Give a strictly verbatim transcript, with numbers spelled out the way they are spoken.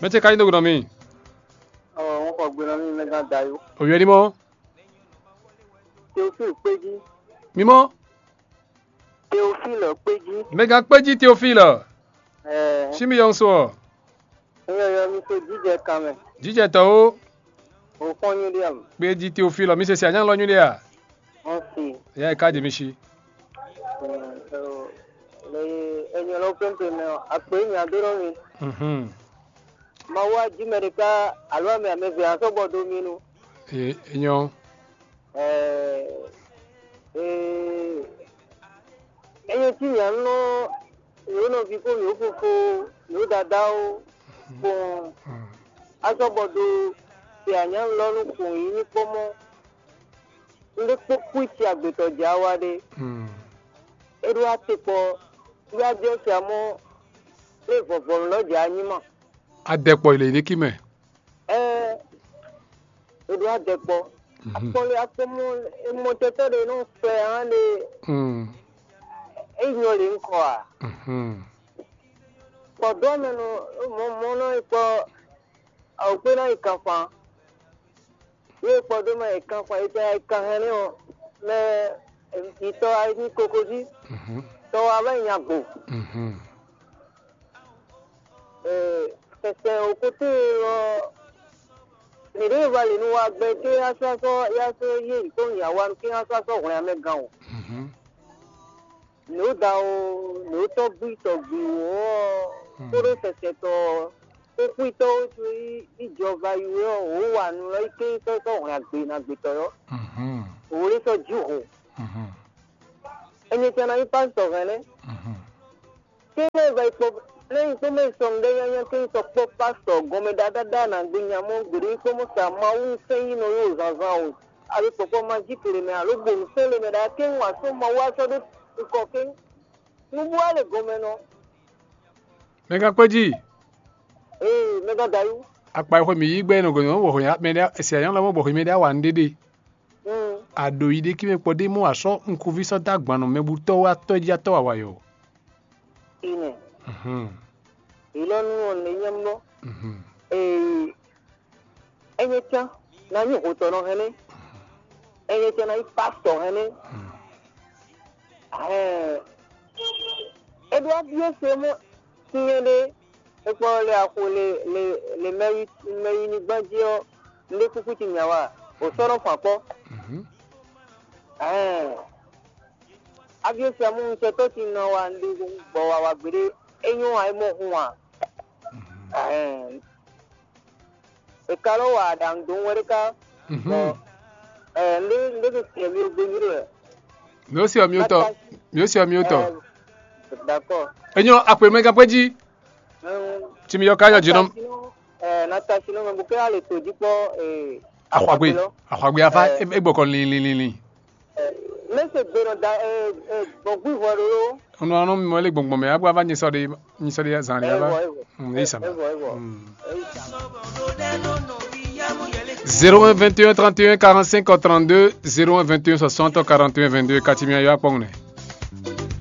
Mɛ ce ka nyí do gbe nɔ mì. Ɔ, ŋun xɔ gbe nɔ mì mɛ gán da yó. Òyɔ ní mɔ. Teofil kpéjí. Mimɔ. Teofil kpéjí. Mɛ gán kpéjí Teofil. Ɛɛ. Sími yɔn so ɔ. Eyɔ yɔ mi so jíjɛ kan mɛ. Jíjɛ tɔ o. O fɔn nyi ɖe am. Kpéjí Teofil mi se si anyá lɔ nyuɖe a. Ɔn si. Ya e ka jɛ mi si. Ɛɛ, ɛɛ, le enyɔ lɔ pɛnpɛn mɛ ɔ, akpe nya dó nɔ mi. Mhm. Mawu ají mɛ ɖeka alo amɛ amɛve asɔ́ bɔ dó mì nu. E nyɔ. Ɛɛ, ee, enye tí mǐa nɔ mǐ nɔví kpó mǐ fofo mǐ dadawo kpɔn asɔ́ bɔ dó te anyǎnulɔ́nú kpɔn yí ní kpɔ́mɔ. Un ɖé kpó kwíci agbětɔ́ jǎ wa ɖé. É ɖó atekpɔ yá jɛ siamɔ lé vɔvɔnu lɔ jǎ nyí ma. Adɛkpɔ yi le yi ɖéki mɛ. Ɛɛ, e ɖo adɛkpɔ. Akpɔli akpɔmɔ emɔtɛtɔ ɖe nɔ fɛ hã ɖe. E nyɔ le ŋkɔ a? Kpɔdɔ mɛ nɔ mɔ mɔ nɔ kpɔ awukpe na yi kanfan. Ye kpɔdɔ mɛ yi kanfan yi tɛ yi kan hɛn ne ɔ mɛ itɔ ayi ní kokozi. Tɔ wa bɛ nya gbo. Sɛsɛ o kote ɔ, mǐ ɖe va le nu wa gbɛ ké asɔ́ asɔ́ yá sɔ́ yé yi kpɔ́n nya wa nu ké asɔ́ asɔ́ hwlɛn amɛ gán o. Nǔ da o, nǔ tɔ́gbí tɔ́gbí wǒ ɔ́, kóɖó sɛsɛ tɔ ɔ́, kúkúitɔ́ ó tún yí jɔva yi wé ɔ́, wǒ wa nu lɔ yi ké sɔ́ sɔ́ hwlɛn agbe na gbetɔ́ ɔ́. Wǒ lé sɔ́ jí hǔn. Enyi tɛn ná nyí pásítɔ hɛn nɛ́. Kí lɛ́ va yi kpɔ́ lɛ́ yi kpɔ́ mɛ sɔn ɖé nyanya kí n sɔ kpɔ́ pásítɔ gɔnmɛ ɖaɖaɖa nǎgbé nya mɔ gbeɖé yi kpɔ́ mɔ sa Mawu sɛn yi nɔ yó zǎnzǎn o. Alo kpɔkpɔ ma jí kle mɛ alo gbonu sɛn le mɛ ɖa kí n wà sɔ́ Mawu wá sɔ́ ɖó kɔ kí nú bú wá le gɔnmɛ nɔ. Mɛ gán kpé jí. Ee, mɛ gán dayú. Akpa e xwe mǐ yí gbɛ nɔ gɔ̌nyɔ́ bɔ hwě mɛ ɖé si anyɔ́ lɔmɔ̌ bɔ hwě mɛ ɖé awa nǔɖéɖé. Aɖo yi ɖé kí mɛ kpɔ ɖé mɔ asɔ́ nukúnví sɔ́ dó agban nɔ mɛ bú tɔ́ wá tɔ́ jí atɔ́ wa wayɔ. Ine. Ilɔnu ɔn ne nyam bɔ. Ee, enye can na nyi hotɔnɔ hɛnɛ. Enye can na nyi pastɔ hɛnɛ. Ɛɛ, eɖo abiɔ se mɔ tinyɛ ɖe ekpɔ le axo le le le mɛyi mɛyi ni gbán jí ɔ, nɖe kúkú ti nya wa o sɔnɔ fan kpɔ. Ɛɛ, abiɔ se amu ŋutɔ tɔ ti nɔ wa nɖe gbɔ wa wa gbeɖe. Enyo wa emɔ hun wa. Ɛɛ, e ka lɔ wa aɖaŋu dó wɛ ɖe ka. Bɔ ɛɛ, nɖe nɖe ke tiɛ mi gbe nyuɖe wɛ. Mi ó se ɔ mi ó tɔ. Mi ó se ɔ mi ó tɔ. Ɛɛ, d'accord. Enyo akpe mɛ gán kpé jí. Tí mi yɔ ká yɔ jí nɔ. Ɛɛ, na ta si nɔ mɛ bu kɛ ale to jí kpɔ. Ee, axɔgbe. Axɔgbe afa e gbɔkɔ linlinlinlin. Mese gbe nɔ da gbɔn gbivɔ ɖo. Unu anu mi mɔ le gbɔngbɔn mɛ agba va nyisɔ de nyisɔ de zan de ava. Eyi sama. Zéro un vingt et un trente et un quarante-cinq trente-deux, zéro un vingt et un soixante quarante et un vingt-deux, kati mi ayɔ akpɔn ne.